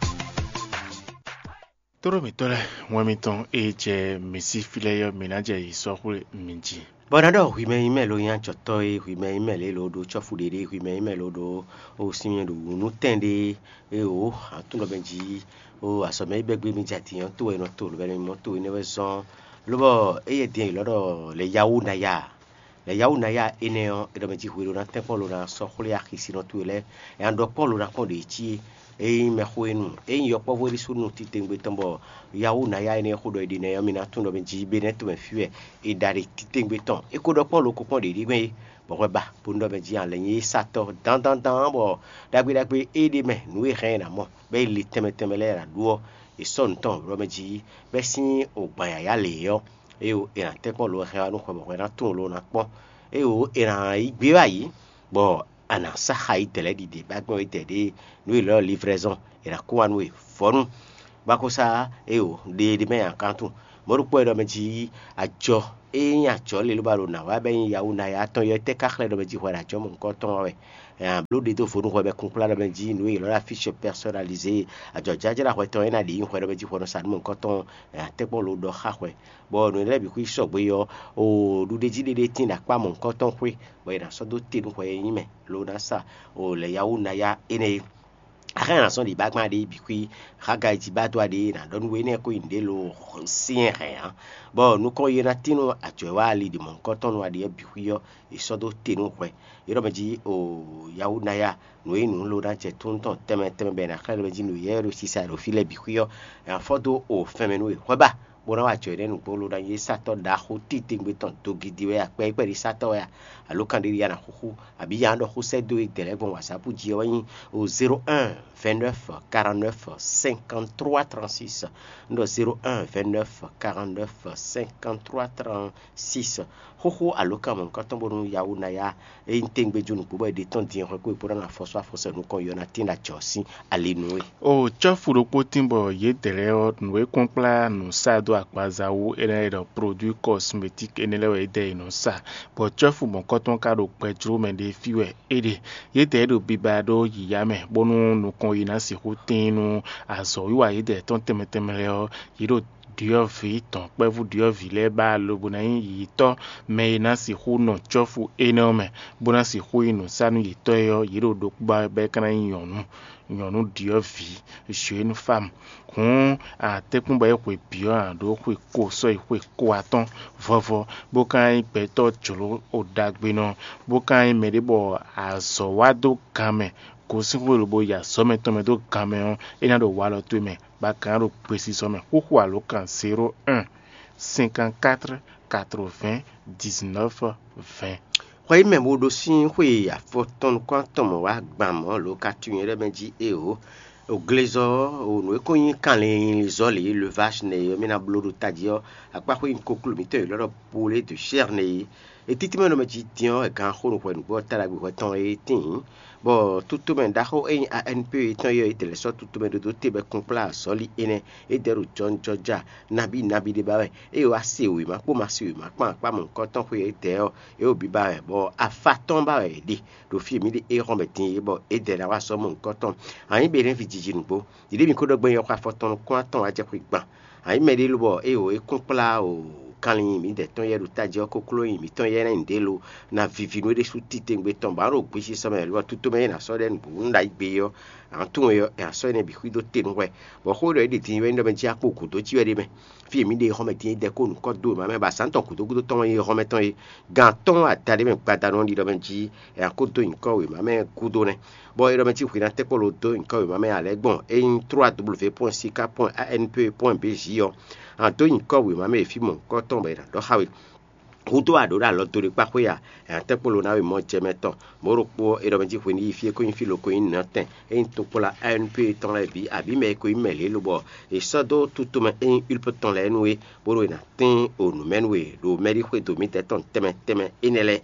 Tlóló mǐtɔn lɛ́ɛ, wɛn mitɔn e jɛ mǐ sí fí lɛ́ɛ ɔ́, mǐ ná jɛ yi sɔ́ xwlé mi jí. Bɔ ná ɖɔ hwi mɛ nyí mɛ lo nyí acɔtɔ́ e, hwi mɛ nyí mɛ lě lo ɖó cɔ́fu ɖé ɖé, hwi mɛ nyí mɛ lo ɖó o sinmɛ ɖo nǔtɛn ɖé e o atúnɔ mɛ jí o azɔ̌ mɛ e bɛ́ gbé mi jɛ atin ɔ́ to wɛ è nɔ to lǒbɛ́ mɔ to énɛ́ wɛ zɔ́n. Lobɔ éyɛ́ din è lɔ́ ɖɔ lě yáwó ná ya. Lɛ yawú ná ya énɛ́ ɔ́, é ɖɔ mɛ jí hwe ɖó ná tɛ́nkpɔ́n lo ná sɔ́ xwlé axisínɔ towe lɛ́ɛ. Nya ɖɔ Pɔ́lu ná kpɔ́n ɖě cí é nyí mɛxó e nu, é nyí yɔkpɔ́vú e ɖésú nu titewungbe tɔn bɔ yawú ná ya énɛ́ xó ɖɔ è ɖe nɛ́ ɔ́, mi ná tunwun ɖɔ mɛ jí bé nɛ́ tomɛ fí wɛ è ɖa ɖe titewungbe tɔn. É ko ɖɔ Pɔ́lu ko kpɔ́n ɖě ɖígbɛ́n é, bɔ hwɛ ba bó nú ɖɔ mɛ jí ǎ lɛ́ nyí satɔ́ dandandan bɔ ɖagbe ɖagbe é ɖe mɛ nǔ e hɛn è nǎ mɔ bɔ é li tɛnmɛ tɛnmɛ lɛ́ɛ è nǎ ɖu ɔ́, è sɔ́ nǔ tɔn ɖɔ mɛ jí bɛ́ sín ogbǎn yǎyá lě ɔ́, éyo è nǎ tɛ́nkpɔ́n lo wɛ hɛn wá nú xwɛ bɔ hwɛ ná tunwun lo ná kpɔ́n. Éyo è nǎ yí gbé wá yǐ, bɔ a nǎ sá xa yi dɛ̌ lɛ́ɛ ɖiɖe bá gbɔn yi dɛ̌ ɖé nú è lɔ́ livrɛzɔn è nǎ kó wá nú we vɔ̌nu. Bá ko sá éyo ɖe ɖé mɛ nyi akántun. Mɔ̌ ɖokpó wɛ ɖɔ mɛ jí ajɔ e nyí ajɔ lě ló ba ɖo nǎ wá bɔ é nyí yawú ná ya tɔn yɔ tɛ́ ká xlɛ́ ɖɔ mɛ jí hwɛ ɖo ajɔ mɔ̌hunkɔtɔn wá wɛ. Bló ɖe dó vo nú hwɛ bɔ kúnplá ɖɔ mɛ jí nǔ e è ylɔ́ ɖɔ afíchɔ pɛsɔnalizé ajɔ̌jlájlá hwɛ tɔn é ná ɖe nyí hwɛ ɖɔ mɛ jí hwɛ nɔ sa nǔ mɔ̌hunkɔtɔn tɛ́nkpɔ́n lo ɖɔ xá hwɛ. Bɔ nǔ lɛ́ɛ bǐ xwí sɔgbe ɔ́, o ɖuɖéjí ɖé ɖé tín ɖo akpá mɔ̌hunkɔtɔn xwé, bɔ è nǎ sɔ́ dó te nú hwɛ e nyí mɛ lo ná sa o lɛ̌ yawú ná ya énɛ́ é. Axɔ́ nya sɔ́ ɖi bá gbɔn aɖé bǐ xwí Xagai jí bá dó aɖé ná ɖɔ nú we énɛ́ ko nyi nǔɖé lo syɛ́n hɛn ǎ. Bɔ nukɔn yi ná tín nú ajɔ̌ e wá ali ɖi mɔ̌hunkɔtɔn nú aɖé ɔ́ bǐ xwí ɔ́, è sɔ́ dó te nú hwɛ. É ɖɔ mɛ jí o yawú ná ya nǔ e nǔ lo ná jɛ tún tɔn tɛnmɛ tɛnmɛ bɔ è nǎ xlɛ́ ɖɔ mɛ jí nǔ yɛ́ ɖo sisa e ɖo fí lɛ́ɛ bǐ xwí ɔ́, è nǎ fɔ́ dó o fɛnmɛ nú we. Hwɛ ba bó ná wa jɔ énɛ́ nǔgbó lo ná nyí satɔ́ ɖaxó titewungbe tɔn dogidi wɛ akpɛ e kpɛɖí satɔ́ wɛ a, alo kanɖéɖi a nǎ xúxú, abǐ ya ɖɔ xó sɛ́ dó e dɛ̌ lɛ́ɛ gbɔn wǎsápu jí ɔ́ wɛ nyí o zéro un vingt neuf quarante neuf cinquante trois trente six. Un ɖɔ zéro un vingt neuf quarante neuf cinquante trois trente six. Xóxó alǒkan mɔ̌hunkɔtɔn bónú yawú ná ya é nyí tɛ́ngbɛ́ jó nǔgbó bɔ è ɖe tɔ́n din hwɛ kó e kpódó ná afɔsɔ́ afɔsɔ́ nukɔn yɔ ná tín ɖo ajɔ̌ sín ali nú we. O cɔ́fu ɖokpó tín bɔ yědɛɛ lɛ́ɛ ɔ́, nǔ e kɔn kplá nǔ sa dó agbaza wú énɛ́ lɛ́ɛ ɖɔ produit cosmétique énɛ́ lɛ́ɛ wɛ yědɛɛ yi nǔ sa, bɔ cɔ́fu mɔ̌kɔtɔn ka ɖo gbɛ jló mɛ ɖé fí wɛ é ɖe. Yědɛɛ ɖo biba ɖó yǐyá mɛ, bónú nukɔn yi ná sixú tín nú azɔ̌wiwa yědɛɛ tɔn tɛnmɛ tɛnmɛ lɛ́ɛ ɔ́, yě ɖo ɖyɔ̌vǐ tɔn kpɛ́vú ɖyɔ̌vǐ lɛ́ɛ ba lobo ná nyí yiyitɔ́ mɛ e ná sixú nɔ cɔ́fu énɛ́ ɔ́ mɛ, bó ná sixú nyí nǔsánú yětɔn é ɔ́, yě ɖo ɖokpó ba bɔ é ka ná nyí nyɔ̌nu, nyɔ̌nu ɖyɔ̌vǐ, jeune femme. Hǔn, a tɛ́nkpɔ́n bɔ é hwe bǐ ɔ́, a ɖǒ xwe ko sɔ́ yi xwe ko atɔ́n vɔvɔ, bó ka nyí gbɛtɔ́ jlǒ ɖagbenɔ, bó ka nyí mɛɖé bɔ azɔ̌ wá dó gan mɛ, gosín xwé lobo yi azɔ̌ mɛtɔn mɛ dó gan mɛ ɔ́, é ná ɖo walɔ towe mɛ, bɔ a ka ná ɖo gbesisɔ mɛ. Xúxú alǒkan zéro un cinquante quatre quatre vingt dix neuf vingt. Xɔ yi mɛ bo ɖo sín xwe afɔtɔn nukún atɔn mɔ̌ wá gban mɔ̌ lo ka tunwun nyɛ ɖɔ mɛ jí éeǒ. O glezɔ ɔ́, o nǔ e ko nyí kanlin zɔ́li levage nɛ e mì ná bló ɖo tají ɔ́, akpáxwé nyí kokló mǐtɔn e lɔ́ ɖɔ poulet de chair nɛ e. E títí mɛ nɔ mɛ jí din ɔ́, è gán xó nǔhwɛ nǔgbó ɔ́ ta ɖagbe hwɛ tɔn e tíin. Bɔ tutomɛ ɖaxó e nyí A N P tɔn e ɔ́, é dɛ lɛ́ sɔ́ tutomɛ ɖódó te bɔ é kún kplá azɔ̌li énɛ́, é dɛ ɖo jɔnjɔja nabí nabí ɖé ba wɛ, ée wá se wěma kpó ma se wěma kpán akpá mɔ̌hunkɔtɔn xwe e dɛ ɔ́, é wo biba wɛ, bɔ afa tɔn ba wɛ è ɖe ɖo fí e mǐ ɖe éhɔ́n mɛ din é, bɔ é dɛ ná wá sɔ́ mɔ̌hunkɔtɔn. Anyǐ be nɛ́ ví jiji nǔgbó. Ɖiɖe mǐ ko ɖɔ gbɛn yɔkɔ afɔtɔn nukún atɔn wá jɛ xwé gban. Anyǐ mɛɖé lobɔ é o é kún kplá o kanlin mǐdɛɛ tɔn yɛ ɖo tají ɔ́, kokló nyi mǐtɔn yɛ ná nyi ɖě lo ná vivi nú é ɖésú titewungbe tɔn, bɔ a ɖo gbesisɔ mɛ lobɔ tutomɛ e nǎ sɔ́ ɖɛ nǔgbó nú ɖo ayǐ gbe ɔ́, a nǎ tunwun é ɔ́, è nǎ sɔ́ énɛ́ bǐ xwí dó te nú hwɛ. Bɔ xó e ɖɔ é ɖi din wɛ nyí ɖɔ mɛ jí a kpo gǔdo jí wɛ ɖ'é mɛ. Fí e mǐ ɖe xɔmɛ din é dɛ kó nǔkɔ dó wěma mɛ, bɔ azǎn tɔn gǔdo gúdo tɔn wɛ nyí xɔmɛ tɔn é. Gan atɔ́ɔ́n adaɖé mɛ gbadanu ɔ́ ɖi ɖɔ mɛ jí è nǎ kó dó nyǐkɔ wěma mɛ gúdo nɛ́. Bɔ é ɖɔ mɛ cí hwi ná tɛ́nkpɔ́n lo dó nyǐkɔ wěma mɛ ǎ lɛ́ɛ gbɔn é nyí trois W point sika point A N P point B J ɔ́, a dó nyǐkɔ wěma mɛ e fí mɔ̌hunkɔtɔn bɔ è nǎ ɖɔ xá we. Húdó a ɖǒ ɖo alɔ do ɖé kpá xwé a? È nǎ tɛ́nkpɔ́n lo ná we mɔ jɛ mɛ tɔn. Mɔ̌ ɖokpó ɔ́, é ɖɔ mɛ jí hwe ní yi fí e ko nyí fí lo ko nyí nǔnɔtɛn, é nyí tokpɔ́la A N P tɔn lɛ́ɛ bǐ, abǐ mɛ e ko nyí mɛ lě lobɔ è sɔ́ dó tutomɛ e nyí Ulpe tɔn lɛ́ɛ nú we, bónú è nǎ tín o nǔ mɛ nú we ɖo mɛɖíxwedó mǐdɛɛ tɔn tɛnmɛ tɛnmɛ énɛ́ lɛ́ɛ.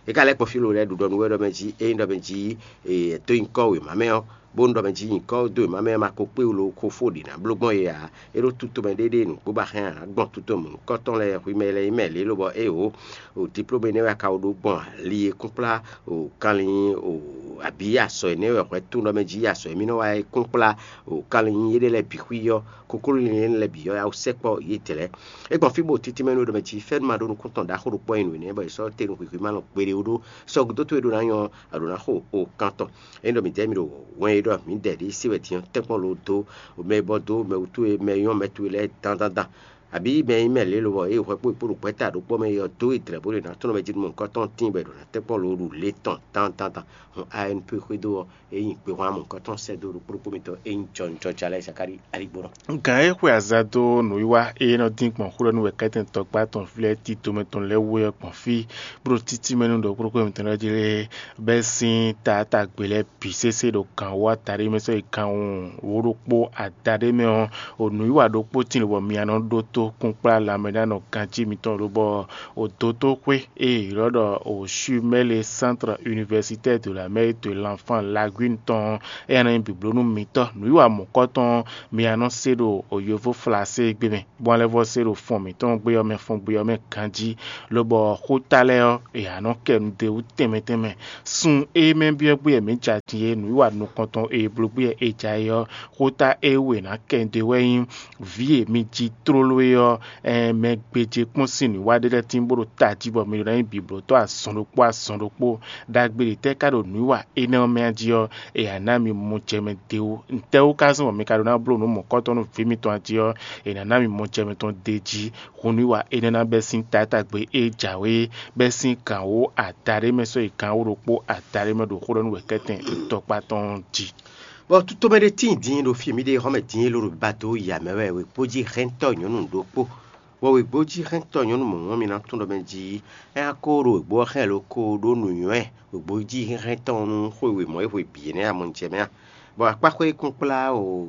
É ka lɛ́ kpɔ́n fí lo lɛ́ɛ ɖu ɖɔ nú wɛ ɖɔ mɛ jí ényí ɖɔ mɛ jí è dó nyǐkɔ wěma mɛ ɔ́, bónú ɖɔ mɛ jí nyǐkɔ dó wěma mɛ ɔ́ ma ko kpé wú lo xo fó ɖě ná bló gbɔn é ǎ. É ɖó tutomɛ ɖéɖéenu bó ba hɛn ǎ gbɔn tutomɛ nǔkɔtɔn lɛ́ɛ hwi mɛ lɛ́ɛ nyí mɛ lě lobɔ éeǒ, o diplóme énɛ́ wɛ a ka wo ɖó gbɔn ali e kún kplá o kanlin o abǐ asɔ énɛ́ wɛ hwɛ tún ɖɔ mɛ jí asɔ e mì nɔ wa é kún kplá o kanlin nyí éɖée lɛ́ɛ bǐ xwí ɔ́, kokló linlɛn lɛ́ɛ bǐ ɔ́, a wú sɛkpɔ́ yědɛɛ lɛ́ɛ. É gbɔn fí bó títí mɛ nú é ɖɔ mɛ jí fɛ́nú ma ɖó nukúntɔn ɖaxó ɖokpó ɔ́ nyi nǔ énɛ́ bɔ è sɔ́ te nú hwǐhwí ma nɔ kpeɖé ó ɖó sɔ́ gúdo towe ɖó ná nyɔ́, a ɖǒ ná xo o kan tɔn. É ɖɔ mǐ dɛ́ mì ɖo wɛn e ɖɔ mǐdɛɛ ɖě se wɛ din ɔ́, tɛ́nkpɔ́n lo dó mɛ e bɔ dó mɛ wútu e mɛ e nyɔ́ mɛ towe lɛ́ɛ dandandan. Abǐ mɛ e nyí mɛ lě lobɔ ée hwɛ kpó è kpó ɖo gbɛ̌ta ɖokpó mɛ é ɔ́ dó é dlɛ̌ bó ɖo è nǎ tlɔ́n mɛ jí nú mɔ̌hunkɔtɔn tíin bɔ è ɖǒ ná tɛ́nkpɔ́n lǒ ɖu lě tɔn dandan. Hɔn A N P xwedó ɔ́, é nyi kpehwan mɔ̌hunkɔtɔn sɛ́ dó ɖokpó ɖokpó mitɔn é nyí jɔnjɔja lɛ́ɛ Zakalíi Aligbɔnɔ. Gǎn e xwe aza dó nǔwiwa e nɔ dín gbɔn xó ɖɔ nú wɛ̌kɛ́tɛn tɔkpá tɔn vlɛ́ tito mɛ tɔn lɛ́ɛ wú é ɔ́ gbɔn fí, bó ɖo títí mɛ nú ɖokpó ɖokpó mitɔn lɛ́ɛ jí lé, bɛ́ sín taátagbe lɛ́ɛ bǐ sésé ɖo gǎn wú adaɖé mɛ sɔ́ yi gǎn wǒ ɖokpó adaɖé mɛ ɔ́, o nǔwiwa ɖokpó tíin lobɔ mia nɔ ɖótó kúnkplá lanmɛɖánɔ ganjí mitɔn lobɔ o dótóxwé e è ylɔ́ ɖɔ o Chumel Centre Universitaire de la Mère et de l'Enfant Lagune tɔn ɔ́, éyɛ́ ná nyí bǐbló nú mitɔ́. Nǔwiwa mɔ̌kɔtɔn ɔ́, mia nɔ se ɖo o yovó Flasé gbé mɛ, bó ná lɛ́ vɔ́ se ɖo fɔn mǐtɔn gbe ɔ́ mɛ fɔn gbe ɔ́ mɛ ganjí, lobɔ xóta lɛ́ɛ ɔ́, è nǎ nɔ kɛ nu d'é wú tɛnmɛ tɛnmɛ. Sun e mɛ byɔ́ gbé wɛ mǐ ja din é, nǔwiwa nukɔntɔn e bló gbé wɛ è ja é ɔ́, xóta e wú è nǎ kɛ nu d'é wɛ nyí vǐ e mi ji tlóló é ɔ́, ɛn mɛ gbéjé kpɔ́n sín nǔwiwa ɖé lɛ́ɛ tín bó ɖo tají bɔ mi ɖó ná nyí bǐblótɔ́ azɔn ɖokpó azɔn ɖokpó. Ɖagbe ɖě tɛ́ ka ɖo nǔwiwa énɛ́ ɔ́ mɛ jí ɔ́, è nǎ ná mi mɔjɛmɛ d'é wú. Ntɛ́wú ka zɔ́n bɔ mi ka ɖó ná bló nǔ mɔ̌kɔtɔn nú vǐ mitɔn jí ɔ́, è nǎ ná mi mɔjɛmɛ tɔn d'é jí. Hun nǔwiwa énɛ́ ná bɛ́ sín taátagbe e jǎwe é, bɛ́ sín gǎn wǒ adaɖé mɛ sɔ́ yi gǎn wǒ ɖokpó adaɖé mɛ ɖo xó ɖɔ nú wɛ̌kɛ́tɛn tɔkpá tɔn jí. Bɔ tutomɛ ɖé tíin din ɖo fí mǐɖée xɔ́mɛ din e ló ɖo ba dó ya mɛ wɛ wěkpó jí hɛntɔ́ nyɔ̌nu ɖokpó. Bɔ wěgbó jí hɛntɔ́ nyɔ̌nu mɔ̌ ɔ́, mi ná tunwun ɖɔ mɛ jí é ná ko ɖo wěgbó ɔ́ xlɛ́ ló ko ɖó nǔnywɛ́ wěgbó jí hɛntɔ́ ɔ́ nú xwe wěmɔ̌ e hwe bǐ énɛ́ amɔjɛ mɛ a? Bɔ akpáxwé kúnkplá o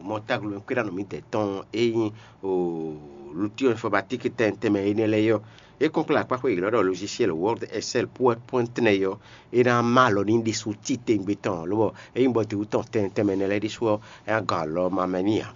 mɔtáglomɛkwéɖánɔ mǐdɛɛ tɔn e nyí o lutíɔ infɔmatíki tɛnmɛ tɛnmɛ énɛ́ lɛ́ɛ é ɔ́, é kúnkplá akpáxwé e è ylɔ́ ɖɔ logiciel Word, Excel, PowerPoint nɛ́ é ɔ́, é ná má alɔ n'i ɖésú titewungbe tɔn ǎ, lobɔ ényí bɔ dǐwú tɔn tɛnmɛ tɛnmɛ énɛ́ lɛ́ɛ ɖésú ɔ́, é ná gɔn alɔ ma mɛ n'i ǎ.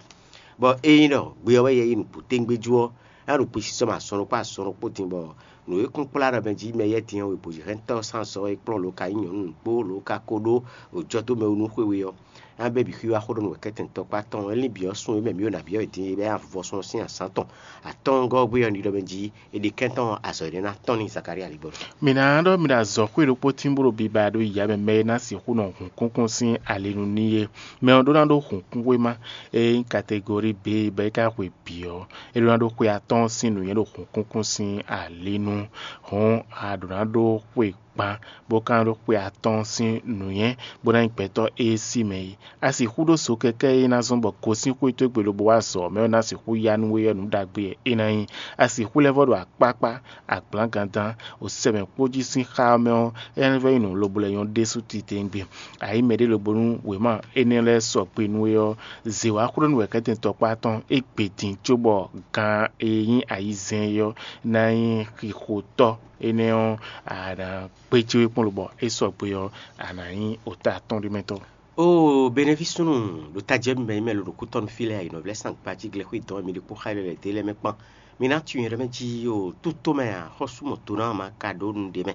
Bɔ ényí ɖɔ gbe ɔ́ wɛ yɛ yi nǔgbó tɛ́ngbéjú ɔ́, é ná ɖo kpisisɔ mɛ azɔn ɖokpó azɔn ɖokpó din bɔ nǔ e kún kplá ɖɔ mɛ jí mɛ yɛ́ din ɔ́, webǒjɛhɛntɔ́ ɔ́ sín azɔ̌ wɛ é kplɔ́n lo ka nyí nyɔ̌nu kpó lo ka ko ɖó wǒjɔ́ dó mɛ wú nú xwe we ɔ́, é ná bɛ́ bǐ xwíwá xó ɖɔ nú wɛ̌kɛ́tɛn tɔkpá tɔn ɔ́, é lín bǐ ɔ́ sun e mɛ mǐ ɖo nǎ byɔ́ wɛ din é bɛ́ avɔsɔ́ sín azǎn tɔn atɔ́ɔ́ngɔ́ ɔ́ gbe ɔ́, ní ɖɔ mɛ jí è ɖe kɛ́n tɔn azɔ̌ énɛ́ ná tɔ́n n'i Zakalía ligbɔ́. Mi ná ɖɔ mi ɖo azɔ̌xwé ɖokpó tín bó ɖo biba ɖó yǎ mɛ mɛ e ná sixú nɔ hun kúnkún sín ali nu n'i é. Mɛ ɔ́ ɖó ná ɖó hun kún wéma e nyí kategori B bɔ é ka hwe bǐ ɔ́, é ɖó ná ɖó xwe atɔ́ɔ́n sín nǔnywɛ́ ɖo hun kúnkún sín ali nu. Hɔ̌n a ɖǒ ná ɖó xwe gban, bó ka ná ɖó xwe atɔ́ɔ́n sín nǔnywɛ́, bó ná nyí gbɛtɔ́ e sí mɛ é. A sixú ɖó so kɛkɛ́ e ná zɔ́n bɔ gosín xwé towe gbe lobo wá azɔ̌ ɔ́ mɛ ɔ́ ná sixú ya nú we ɔ́, nǔ ɖagbe wɛ é ná nyí. A sixú lɛ́ vɔ́ ɖo akpákpá, agblǎngán dán, o sɛmɛ kpó jí sín xá ɔ́ mɛ ɔ́, énɛ́ vɛ́ nyí nǔ lobo lɛ́ nyɔ́ ɖésú titewungbe. A yǐ mɛɖé lobo nú wěma énɛ́ lɛ́ɛ sɔgbe nú we ɔ́, zě wá xwlé nú wɛ̌kɛ́tɛn tɔkpá tɔn é gbe din cóbɔ gan e nyí ayizɛ́n é ɔ́ ná nyí xixotɔ́. Énɛ́ ɔ́, a nǎ gbéjé we kpɔ́n lobɔ é sɔgbe ɔ́, a nǎ nyí ota atɔ́nɖímɛtɔ́. Oo, Beneví súnnu ɖo tajɛ mi mɛ nyí mɛ lo ɖo kútɔ́nú fí lɛ́ɛ, ayǐnɔvlɛ́ sangbají glɛ́xwé dɔn wɛ mi ɖi kpó xá lɛ́ lɛ̌ dé lɛ́ mɛ kpán. Mi ná tunwun yɛ ɖɔ mɛ jí o tútó mɛ ǎ, xɔ́sú mɔ̌ dó ná ma ka ɖó nu ɖé mɛ.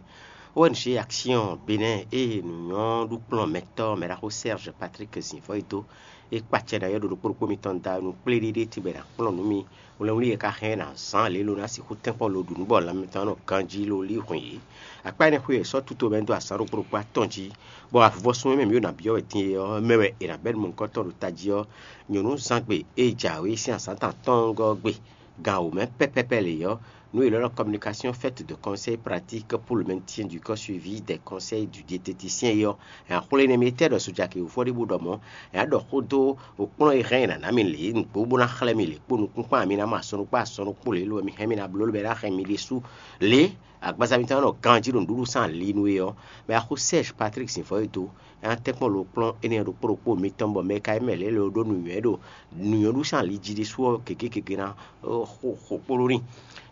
Ó wɛ nǔ ṣe action Benɛ́ɛ ée nǔnywɔ́ɖukplɔ́nmɛtɔ́ mɛɖaxó Serge Patrick Zǐnvɔ́ e dó é kpacɛ ná yɔ́ ɖo ɖokpó ɖokpó mitɔn da nu kplé ɖéɖé tibɛ ná kplɔ́n nǔ mi. Wlɛnwlí e ka hɛn ná zán lě lo ná sixú tɛ́nkpɔ́n lo ɖu nǔ bɔ lanmɛ tɔn nɔ ganjí lo lí hwɛ̌n yě. Akpá énɛ́ xwé wɛ sɔ́ tuto mɛ dó azǎn ɖokpó ɖokpó atɔn jí, bɔ avɔsún e mɛ mǐ ɖo nǎ byɔ́ wɛ din é ɔ́ mɛ wɛ è nǎ bɛ́ nǔ mɔ̌hunkɔtɔn ɖo tají ɔ́, nyɔ̌nu zán gbe e jǎwe sín azǎn tɔn atɔ́ɔ́ngɔ́ ɔ́ gbe. Gan wǒ mɛ pɛ́pɛ́pɛ́ lě ɔ́, nǔ e è ylɔ́ ɖɔ communication faite de conseil pratique pour le maintien du corps suivi des conseils du diététicien é ɔ́, nya xwlé nɛ mi tɛ́ ɖɔ sojaki wǒfɔ ɖé bó ɖɔ mɔ̌, nya ɖɔ xó dó wǒkplɔ́n e hɛn nǎ ná mi lě nǔgbó bó ná xlɛ́ mi lě kpó nukúnxwán mi ná mɔ asɔnukpó asɔnukpó lě lo wɛ mi hɛn mi ná bló lě bɔ é ná hɛn mi ɖésú lě agbaza mitɔn nɔ ganjí ɖo nǔɖuɖu sín ali nú é ɔ́, mɛ axó Serge Patrick Zǐnvɔ́ e dó é ná tɛ́nkpɔ́n lo kplɔ́n énɛ́ ɖokpó ɖokpó mitɔn bɔ mɛ ka nyí mɛ lě lo ɖó nǔnywɛ́ ɖo nǔnywɛ́ɖu sín ali jí ɖésú ɔ́ gěgé gěgé ná xo xo kpó ɖó n'i.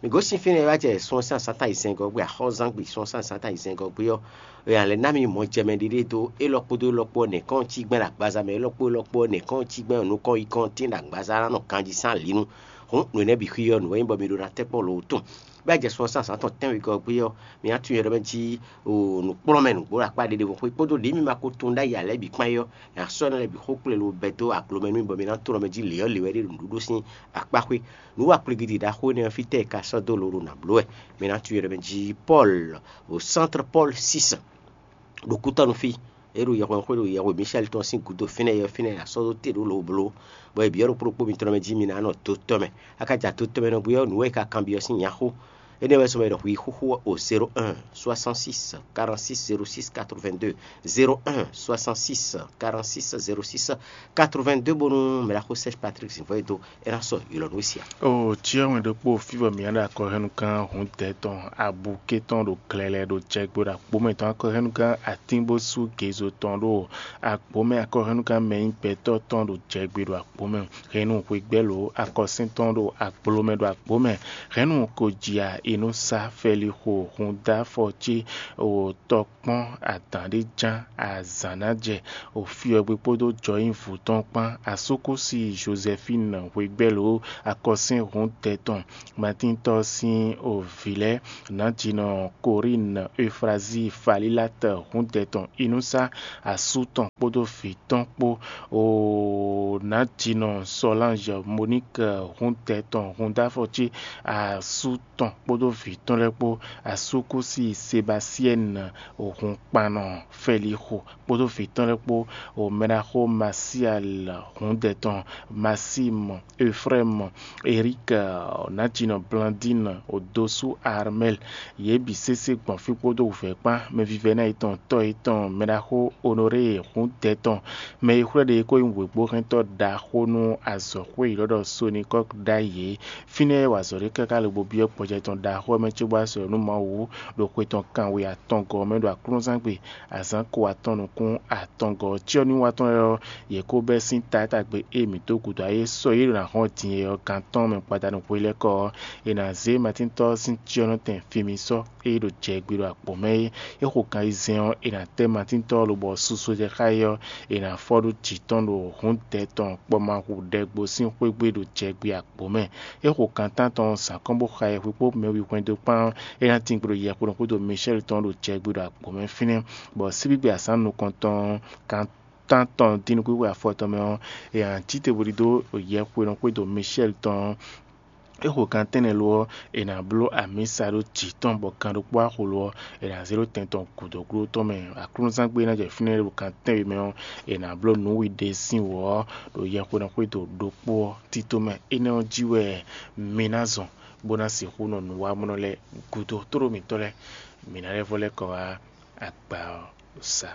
Mǐ gosín fínɛ́ wá jɛ sun ɔ́ sín azǎn tɔn ayizɛ́ngɔ́ gbe, axɔ́zán gbe sun ɔ́ sín azǎn tɔn ayizɛ́ngɔ́ gbe ɔ́, è nǎ lɛ́ ná mi mɔjɛmɛ ɖiɖe dó élɔ́ kpódó élɔ́ kpó ɔ́ nɛ̌kɔ́n cí gbɛ́ ɖo agbaza mɛ, élɔ́ kpó élɔ́ kpó ɔ́ nɛ̌kɔ́n cí gbɛ́ ɖo nukɔn yi kɔn tín ɖo agbaza ná nɔ ganjí sín ali nu. Hǔn nǔ énɛ́ bǐ xwí ɔ́, nǔ e nyí bɔ mi ɖó ná tɛ́nkpɔ́n lo tɔn. Bɔ é jɛ sun ɔ́ sín azǎn tɔn tɛ́nwegɔ́ gbe ɔ́, mi ná tunwun yɛ ɖɔ mɛ jí o nǔkplɔ́nmɛ nǔgbó ɖo akpá ɖé ɖěvo xwé kpódó ɖě mi ma ko tunwun ɖ'ayǐ ǎ lɛ́ɛ bǐ kpán é ɔ́, è nǎ sɔ́ énɛ́ lɛ́ɛ bǐ xó kplé lo bɛ́ dó aglo mɛ nú mi bɔ mi ná tunwun ɖɔ mɛ jí lě ɔ́ lě wɛ ɖe ɖo nǔɖuɖu sín akpá xwé. Nǔ wa kpligi ɖi ɖaxó énɛ́ ɔ́ fítɛ́ è ka sɔ́ dó lo ɖo nǎ bló wɛ? Mi ná tunwun yɛ ɖɔ mɛ jí Pɔ́lu ɖo Centre Paul six ɖo kútɔ́nú fí. É ɖo yɛhwexwé ɖo yɛhwe Michel tɔn sín gǔdo fínɛ́ yɛ fínɛ́ a sɔ́ dó te ɖó lǒbló, bɔ è byɔ́ ɖo kplɔ́kpó mitɔn mɛ jí mi ná nɔ dó tɔn mɛ. A ka ja dó tɔn mɛ nɔ bú ɔ́, nǔ e è ka kanbyɔ́ sín nya xó. Énɛ́ wɛ sɔmɛ ɖɔ hwi xóxó ɔ́ o zéro un soixante-six quarante-six zéro six quatre-vingt-deux, zéro un soixante-six quarante-six zéro six quatre-vingt-deux bónú mɛɖaxó Serge Patrick Zivɔ́ e dó é ná sɔ́ ylɔ̌ nú we sia. O cyɔ wɛn ɖokpó fí bɔ mǐ ná ɖo akɔhɛ́núgán Hǔndɛ tɔn abukɛ tɔn ɖo glɛlɛ ɖo jɛgbe ɖo akpó mɛ tɔn akɔhɛ́núgán atínbósú gezo tɔn ɖo akpó mɛ akɔhɛ́núgán mɛ nyí gbɛtɔ́ tɔn ɖo jɛgbe ɖo akpó mɛ. Hɛ̌nnu hwegbɛ́ lǒ akɔsín tɔn ɖo agbló mɛ ɖo agbǒ mɛ. Hɛ̌nnu ko ji a è nɔ sá fɛlixo hun dó afɔ ce o tɔ kpɔ́n adǎn ɖé ján azǎn ná jɛ o fyɔ́gbé kpódó jɔyínvú tɔn kpán. Asúkúsi Jozɛfín hwegbɛ́ lǒ akɔsín hun tɛn tɔn Matíntɔ́ sín o vǐ lɛ́ɛ, nǎjinɔ Korín Efrazíi Falílát hun tɛn tɔn Inúsá asú tɔn kpódó vǐ tɔn kpó. O nǎjinɔ Sɔlánzɔ Moník hun tɛn tɔn hun dó afɔ cí asú tɔn kpódó vǐ tɔn lɛ́ɛ kpó. Asúkúsi Sebasiɛ́ni hun kpannɔ Fɛlixo kpódó vǐ tɔn lɛ́ɛ kpó. O mɛɖaxó Masial hun tɛn tɔn Masímɔ Efrɛ́mɔ Erík nǎjinɔ Blandín odosú Armɛ́l. Yě bǐ sésé gbɔn fí kpódó wǔvɛ́ kpán. Mɛvívɛ́ná yětɔn tɔ́ yětɔn mɛɖaxó Onorée hun tɛn tɔn. Mɛ e xwlɛ́ ɖe é ko nyí wěgbóhɛntɔ́ ɖaxó nú azɔ̌xwé e è nɔ ɖɔ Sonikɔ́k ɖ'ayǐ é. Fínɛ́ wɛ azɔ̌ ɖé káká lobo byɔ́ gbɔjɛ tɔn ɖaxó ɔ́ mɛ cóbɔ wá sɔ́ nú Mawu ɖo xwe tɔn kanwe atɔngɔ́ ɔ́ mɛ ɖo aklúnɔzángbe azǎn ko atɔn nukún atɔngɔ́ ɔ́. Cyɔ́núwatɔ́ lɛ́ɛ ɔ́, yě kó bɛ́ sín taátagbe e mǐ dó gǔdo ayé sɔ́ yě ɖo ná hɔn din é ɔ́ gan tɔn mɛ gbadanu hwelɛ́kɔ ɔ́, è nǎ zé Matíntɔ́ sín cyɔ́nɔtɛn fí mì sɔ́ é ɖo jɛ gbe ɖo akpɔ̌ mɛ é. É xo kan ayizɛ́n ɔ́, è nǎ tɛ́ Matíntɔ́ ɔ́ lobɔ susu jɛ xá é ɔ́, è nǎ fɔ ɖó jǐ tɔn ɖo hǔndɛ tɔn kpɔ́ ma hu ɖɛgbo sín xwé gbe ɖo jɛ gbe akpɔ̌ mɛ. É xo kan tántɔn zǎn kɔn bó xa yɛhwe kpó mɛwi hwɛndo kpán ɔ́, é ná tín gbe ɖo yɛhweɖɔn xwédo Micɛ́li tɔn ɖo jɛ gbe ɖo akpɔ̌ mɛ fínɛ́, bɔ síbígbe azǎn nukɔntɔn kan tántɔn dín nukúnxwe afɔtɔn mɛ ɔ́, è nǎ cí te bó ɖidó yɛhweɖɔn xwédo Micɛ́li tɔn ɔ́. É xo gan tɛ́nnɛ lo ɔ́, è nǎ bló amǐsa ɖó jǐ tɔn, bɔ gan ɖokpó axo lo ɔ́, è nǎ zé ɖó tɛn tɔn gǔdo gló tɔn mɛ. Aklúnɔzángbe ná jɛ fínɛ́ ɖo gan tɛ́nwe mɛ ɔ́, è nǎ bló nǔ wi ɖe sín wǔ ɔ́ ɖo yɛhweɖɔn xwédo ɖokpó ɔ́ tito mɛ. Énɛ́ ɔ́ jí wɛ mi ná zɔn, bó ná sixú nɔ nǔwamɔnɔ lɛ́ɛ gúdo tlóló mǐtɔn lɛ́ɛ. Mǐ ná lɛ́ vɔ lɛ́ kɔ wá agba ɔ́ sa.